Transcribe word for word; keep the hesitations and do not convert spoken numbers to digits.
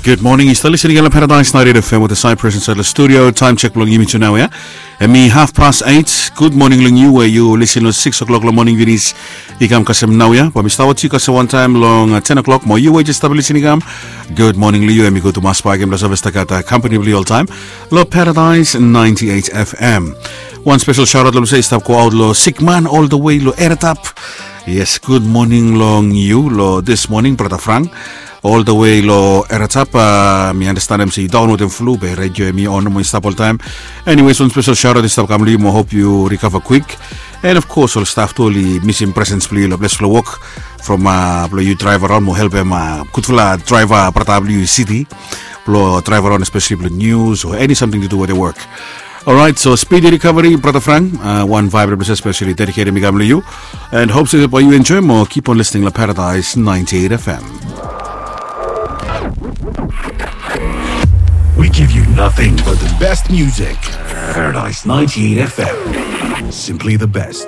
Good morning, yu stap lisin i gat long Paradise ninety-eight F M with the Cypress inside the studio. Time check bilong yumi tu nau ya. Em i half past eight. Good morning long yu we yu lisin long six o'clock long morning finis i kam kasem nau ya. Ba mi stap wot yu kasem wantaim long uh, ten o'clock mo yu we just stap lisin i kam. Good morning long yu, em i go tumas bagim long save stap gat uh, company bilong yu oltaim. Long Paradise ninety-eight F M. One special shout out long se i stap go out lo sikman all the way lo Eratap. Yes, good morning long yu lo this morning, brother Frank. All the way lo Eratap, uh, mi understand em se i down with em flu be radio em i on mo i stap all time. Anyways, one special shout out i stap kam lo yu mo hope you recover quick. And of course, ol staff tu oli missing presence bilong yu lo ples bilong work from uh, bilong yu drive around mo help em uh, gudfala driver brother bilong yu city. Bilong drive around especially bilong news or any something to do with the work. Alright, so speedy recovery, brother Frank. Uh, one vibe episode specially dedicated mi kam lo yu. And hope so by you enjoy more. Keep on listening to Paradise ninety-eight F M. We give you nothing but the best music. Paradise ninety-eight F M. Simply the best.